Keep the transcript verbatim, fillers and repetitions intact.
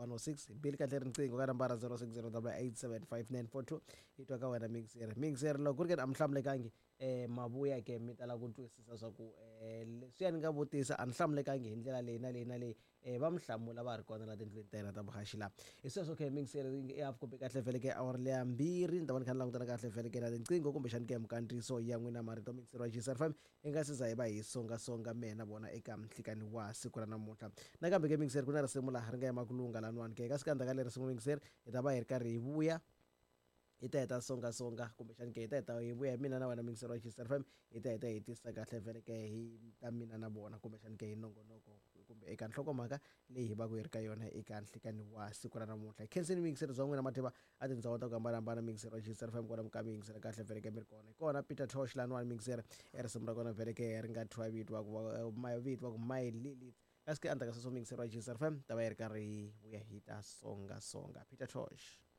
one oh six bili kahle riqingho ka nambara zero six zero double eight seven five nine four two hi twa ka wena mixer mixer loko ku ri ke a mi hlamulekangi eh mavuya ke mi tala ku twisisa swa ku eh leswiya ni nga vutisa a ni hlamulekangi hi ndlela leyi na leyi na leyi eh va mi hlamula va ri kona la tindlwini ta yena ta vuhaxi laha hi sweswo ke mixer i half kumbe kahle vhele ke awara leya mbirhi ni ta va ni kha ni langutana kahle vhele ke na tinqingho kumbexani ke minkandziyiso ya n'wina marito mixer wa G S F M hi nga se za hi va hi songasonga mehe na vona eka nhlikani wa siku ra namuntlha nakambe ke mixer ku na risimu laha ri nga yima ku lunga laniwani ke ka sikandzaka leri risimu mixer hi ta va hi ri karhi hi vuya hi ta heta songasonga kumbexani ke hi ta heta hi vuya hi mina na wena mixer wa G S F M hi ta heta hi tisa kahle vhele ke hi ta mina na vona kumbexani ke hi nongonoko kumbe eka nhlokomhaka leyi hi va ku hi ri ka yona eka nhlikani wa siku ra namuntlha khenseni mixer bya n'wina mativa a tindhawu ta ku hambanahambana mixer wa G S F M kona mi yingisela kahle vhele ke mi ri kona hi kona Peter Tosh laniwani mixer e risimu ra kona vhele ke ri nga thyiwa vito va ku mavito va ku My Lilith kasi ke endzhaku ka sweswo mixer wa G S F M ta va yi ri karhi hi vuya hi ta songasonga Peter Tosh.